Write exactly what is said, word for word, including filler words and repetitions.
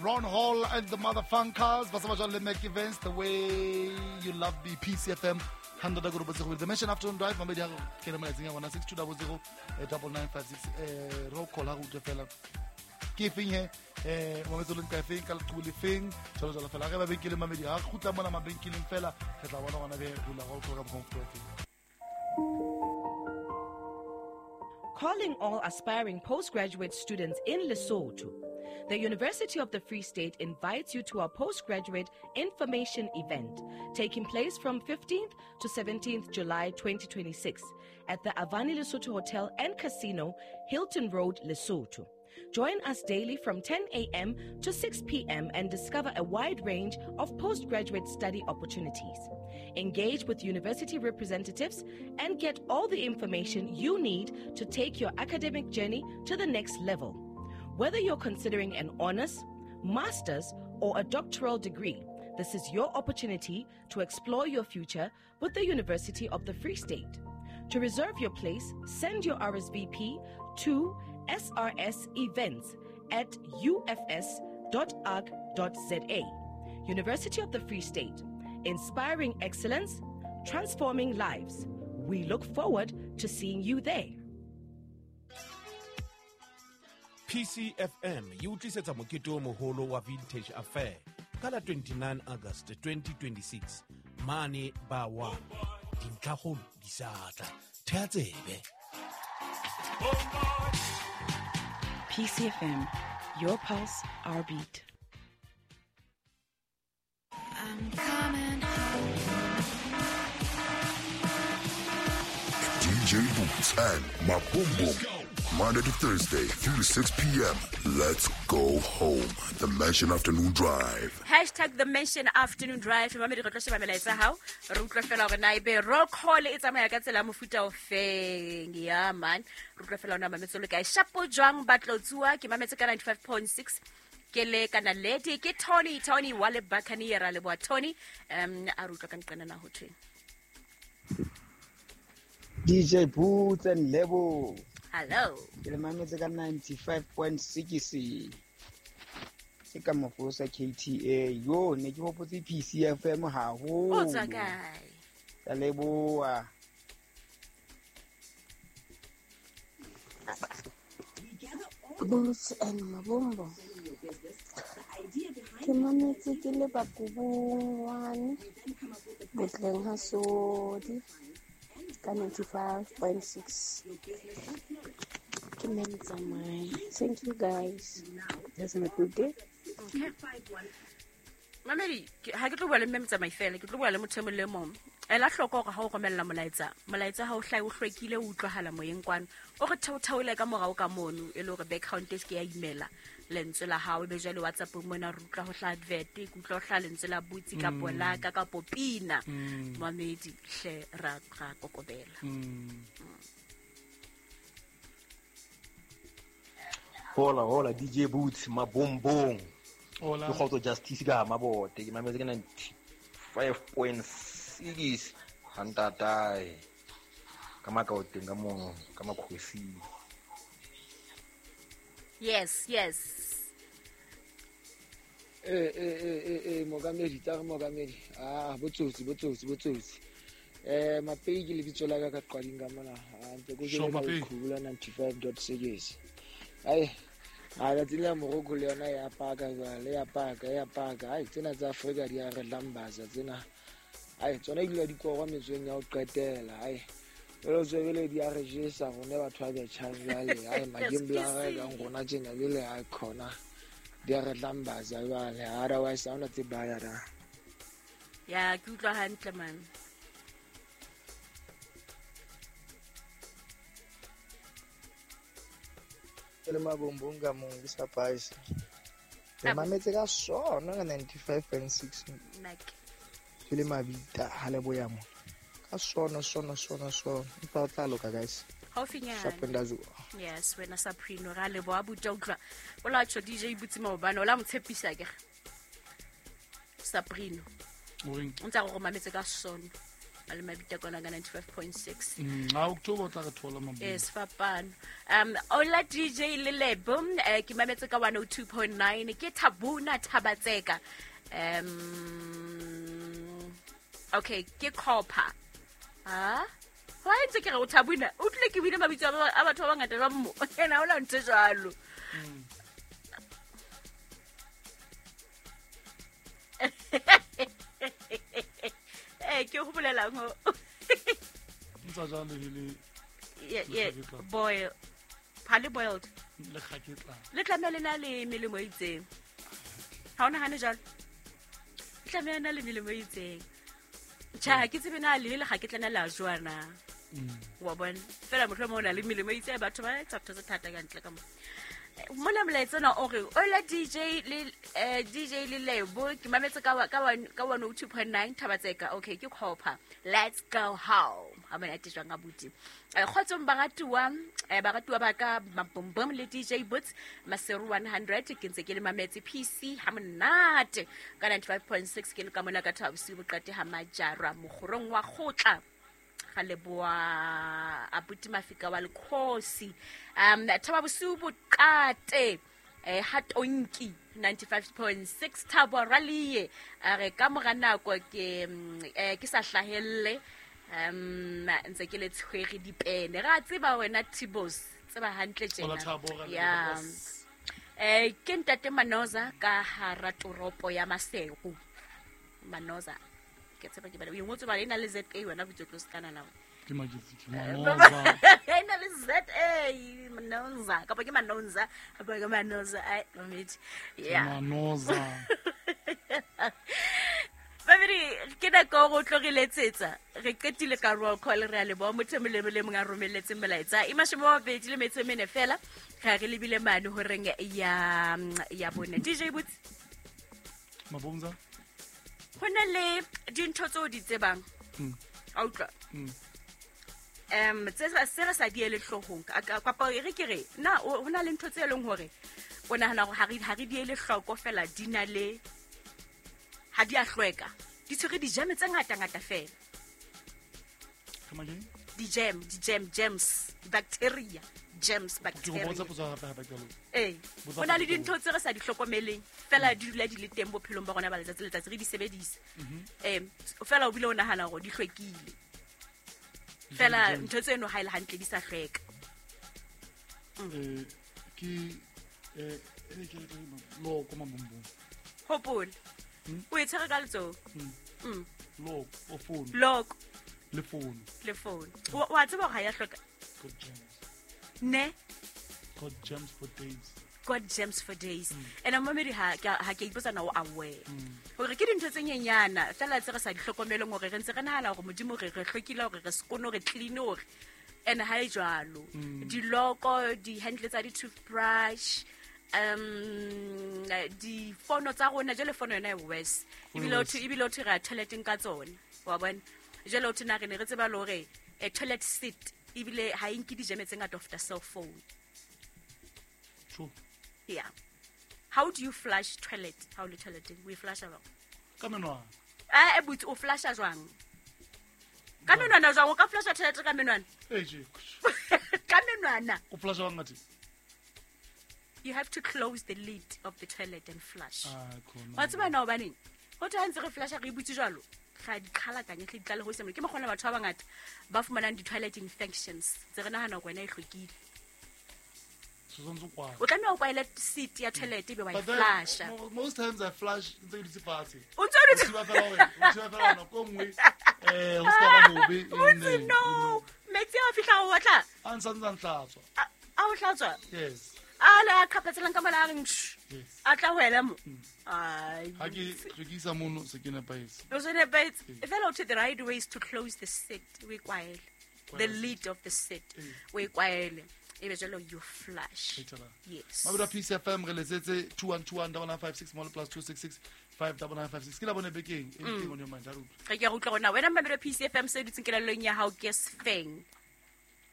Ron Hall and the Motherfunkers. Ba sa ba jwale le Mac Events, The Way You Love Me, P C F M. Hundred go botse go The Mansion Afternoon Drive, mamedi ha ke le molaetseng ya rona six two zero zero double nine five six. Eh, roll call ha go utlwe fela. Ke feng he? Eh, mametse le nka feng ka leqhubu le feng? Jwalo jwalo fela. Re ba benkele mamedi ha kgutla mona mabenkeleng fela, re tla bona gona be re dula roll call ka mokgwa o feng. Calling all aspiring postgraduate students in Lesotho. The University of the Free State invites you to our postgraduate information event taking place from fifteenth to seventeenth July twenty twenty-six at the Avani Lesotho Hotel and Casino, Hilton Road, Lesotho. Join us daily from ten a.m. to six p.m. and discover a wide range of postgraduate study opportunities. Engage with university representatives and get all the information you need to take your academic journey to the next level. Whether you're considering an honors, master's, or a doctoral degree, this is your opportunity to explore your future with the University of the Free State. To reserve your place, send your R S V P to S R S events at U F S dot org dot Z A. University of the Free State, inspiring excellence, transforming lives. We look forward to seeing you there. P C F M e utlisetsa mokete o moholo wa Vintage Affair ka la twenty-nine August twenty twenty-six mane ba wa dintlhakgolo di sa tla. Thea tsebe. P C F M, your pulse, our beat. I'm coming home. D J Boots and Maboom. Monday to Thursday, three to six p.m. Let's go home. The Mansion Afternoon Drive. Hashtag The Mansion Afternoon Drive. Mamedi re tlo sheba melaetsa hao. Re utlwe fela hore na ebe roll call e tsamaya ka tsela ya mofuta o feng. Yeah, man. Re utlwe fela hore na mametse le kae. Shapo jwang ba tlotsuwa. Ke mametse ka ninety-five point six. Ke le kana lady ke Tony, Tony wa le Buccaneer ra leboha Tony. Um a re utlwa ka nqena na ho thweng. D J Boots and Lebo. Hello. Ke le mametse ka ninety-five point six. Ke ka mofosa K T A. Yo, ne ke hopotse P C F M haholo. O tswa kae? Ka leboha. Boots and Mabombo. Ke mametse ke le Bakubung one. Botleng ha Sodi. Ka ninety-five point six. Ke Mtsamai. Thank you guys. Have a good day. Okay. Mamedi, ha ke tlo bua le mme Mtsamai fela, ke tlo bua le motho e mong le mong. Ela hloko hore ha o romella molaetsa, molaetsa ha o hlahe o hlwekile o utlwahala moyeng kwano. O re theotheole ka morao ka mono e le hore background e se ke ya imela lentswe la hao, ebe jwale WhatsApp mona re utlwa ho hlaha advert, ke utlwa ho hlaha lentswe la Butsi kapo la ka kapo pina. Mamedi hle ra ra kokobela. Hola hola D J Boots Mabombong. Hola. Ke kgotso Justice ka Mabote ke mametse ke ninety-five point six hantatae ka makaoteng ka mono ka makhosing. Yes, yes. Eh eh eh eh eh mokamedi tsa re mokamedi. Ah botsotsi botsotsi botsotsi. Eh Mapei ke lebitso la ka ka qading ka mona. Ah ntse go jela qhubula ninety-five point six. Ai a la tsela Morocco le yona ya paka jwale ya paka ya paka. Ai tsena tsa Afrika di a re lambaza tsena. Ai tsona di dula di korwa metsweng ya ho qetela. Ai jwale tswebele di a re jesa rone batho ba betjhang jwale. Ai magembla a kang rona tjena jwale a khona di a re lambaza jwale. Otherwise ha ona tse baya da. Ya ke utlwa hantle man. Le Mabombong ka mong ke sa paise. Re mametse ka sona ka ninety-five point six. Ke le mabita ha le boya mo. Ka sona sona sona sona. Empa o tla loka guys. Haufinyana. Yes, wena Saprino ra leboha buta utlwa. O la tjho D J Butsi maobane o la mo tshepisa ke. Saprino. O ntse a go mametse ka sona. A le mabita kona ka ninety-five point six. Mm, a October o tla re thola mabong. Yes, fapano. Um Ola D J Lelebo, eh, ke mametse ka one oh two point nine ke Thabuna Thabatseka. Um okay, ke Copper. Ha? Wa ntse ke re o Thabuna, o tlile ke bile mabitso a batho ba bangata ba mo. Ena o la ntse jwalo. Eh ke go bolelang ho. Ntsa jang le le Yeah, yeah, boil. Pale boiled. Le kgaketla. Le tlameha le na le melemo e itseng. Ha o nahane jwalo? Le tlameha na le melemo e itseng. Tjha, ke tsebe na le le kgaketla na la jwa na. Wa bona? Fela mohlomong o na le melemo e itseng, batho ba etsa ntho tse thata ka ntle ka mo. Mona molaetsa ona o re Ola D J le D J le Lebo ke mametse ka ka ka one oh two point nine Thabatseka. Okay, ke Copper. Let's go home. Ha mona te jwang abuti. Kgotsong baratuwa, baratuwa ba ka Mabombom le D J Boots Maseru one hundred ke ntse ke le mametse P C ha monate ka ninety-five point six ke le ka mona ka Thabosiu boqate ha Majara mokgorong wa kgotla. Ga leboa abuti Mafika wa Lekgosi. Um Thabosiu boqate eh ha tonki ninety-five point six Thabo Ralie a re ka mora nako ke eh ke sa hlahelle um ntse ke le tshwere dipene ra tseba wena Tibos tseba hantle tjena ya eh ke ntate Manoza ka hara toropo ya Maseru. Manoza ke tseba ke bana o ingotse ba ena le Z A wena botso tlo skana na ke majitsi ke Manoza ena le Z A Manoza kapa ke Manoza kapa ke Manoza ai mamedi yeah Manoza Babiri ke nako go tlo re letsetsa re qetile ka roll call re a leboha motho e mong le mong a romelletseng molaetsa e mashome a mabedi le metso e mene fela re re lebile mane horeng ya ya bone. D J Boots Mabonza ho na le dintho tseo di tsebang a utlwa um tse se re sa di ele hloohong kapa re ke re na ho na le ntho tse leng hore o nahana hore ha re ha re di ele hloko fela di na le ha di a hlweka di tshwere di-jam tse ngata ngata fela. Come again? Di-jam, di-jam, germs, bacteria, germs, bacteria. Eh, ho na le dintho tse re sa di hlokomeleng fela di dula di le teng bophelong ba rona ba letsatsi le letsatsi re di sebedisa. Eh, fela o bile o nahana hore di hlwekile. Fela ntho tseno ha e le hantle di sa hlweka. Eh, ke eh ke loko mabombom. Hopola. O e tshwere ka letsoho. Mm. Loko o phone. Loko. Le phone. Le phone. O wa tseba hore ha ya hlweka. Got germs. Ne? Got germs for days. Got germs for days. And mamedi ha ha ke ipotsa na o aware. Hore ke dintho tse nyenyana fela tse re sa di hlokomeleng hore re ntse re nahana hore Modimo re re hlwekile hore re sekono re clean hore and ha e jwalo. Diloko, di-handle tsa di-toothbrush, um di fono tsa rona jwale fono yona e worse ebile o ebile o re toileteng ka tsona wa bona jwale o thina re ne re tseba le hore a toilet seat ebile ha e nke dijeme tse ngata of the cell phone. True. Yeah. How do you flush toilet? How le toileteng we flush jwang? Ka menwana. Eh but o flusha jwang? Ka menwana jwang o ka flusha toilet ka menwana? Eh je. Ka menwana. O flusha jwang ngathi? You have to close the lid of the toilet and flush. Ah, khona. Wa tseba na hobaneng? Ho thwe ha ntse re flusha re butse jwalo, ga di qhalakanye tle di tlale ho se mo. Ke mokgona batho ba bangata ba fumanang di-toilet infections. Tse re nahana hore wena e hlwekile. O tlameha o kwaele seat ya toilet ebe wa e flusha. Most times I flush ntse ke dutse fatshe. O ntse o dutse fatshe fela hore, o thiba fela hore nako e nngwe eh ho ska ba bobe. No, metsi a fihla o batla. A ntsa ntsa ntlatswa. A o hlatswa? Yes. A le a qhapetselang ka mola a reng a tla wela mo. Ai. Ha ke hlwekisa mono se ke nepahetse. O se nepahetse. Fela o the right way is to close the seat, we kwaele. The lid of the seat. We kwaele. Ebe jalo you flush. Yes. Mabura P C F M re letsetse two one two one nine nine five six mo plus two six six five nine nine five six. Ke la bone bekeng anything on your mind. Re ke utlwa rona wena Mabura P C F M se dutseng kelellong ya hao ke sefeng.